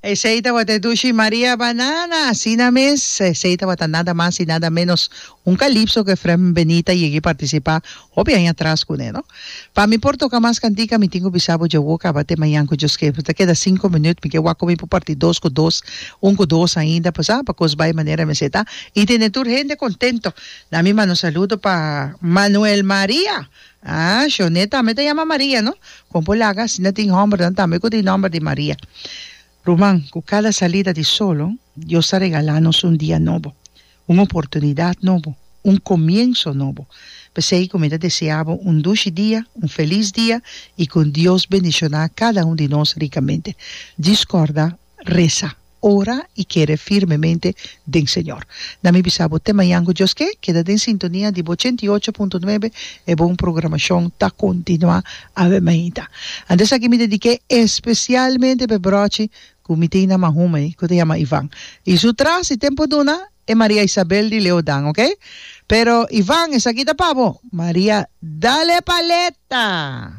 Esey tabata e dushi Maria Banana, asina mes, esey tabata nada mas y nada menos un calypso cu Efrem Benita yega y participa hopi aña atras cune, no? Pa mi por toca mas cantica mi tin cu bisa bo dje wou caba te mañan cu Dios ke, ta keda cinco minuut, mi ke wak cu mi por parti dos cu dos, un cu dos ainda, pues ah, pa cos bay manera mester ta y tene tur hende contento. Na mi manda un saludo pa Manuel Maria. Ah, Shonee tambe ta yama Maria, no? Kon por laga asina tin hòmbernan tambe ku tin nòmber di Maria. Ruman, ku kada salida di solo, Dios ta regalá nos un dia nobo, un oportunidat nobo, un komienso nobo. P'esei ku mi ta deseá bo un dushi dia, un felis dia i ku Dios bendishoná kada un di nos rikamente. Djis kòrda resa. Ora i kere firmemente den Señor. Na mi bisa bo te mañan ku Dios ke, keda den sintonia di bo 88.9 e bon programashon ta kontinuá awe mainta. Antes aki mi dedik'é espesialmente p'e brochi ku mi tin na Mahume ku ta yama Ivan. I su tras si tempu duna e Maria Isabel di Leodan ok. Pero Ivan esaki ta pa bo. Maria dale paleta!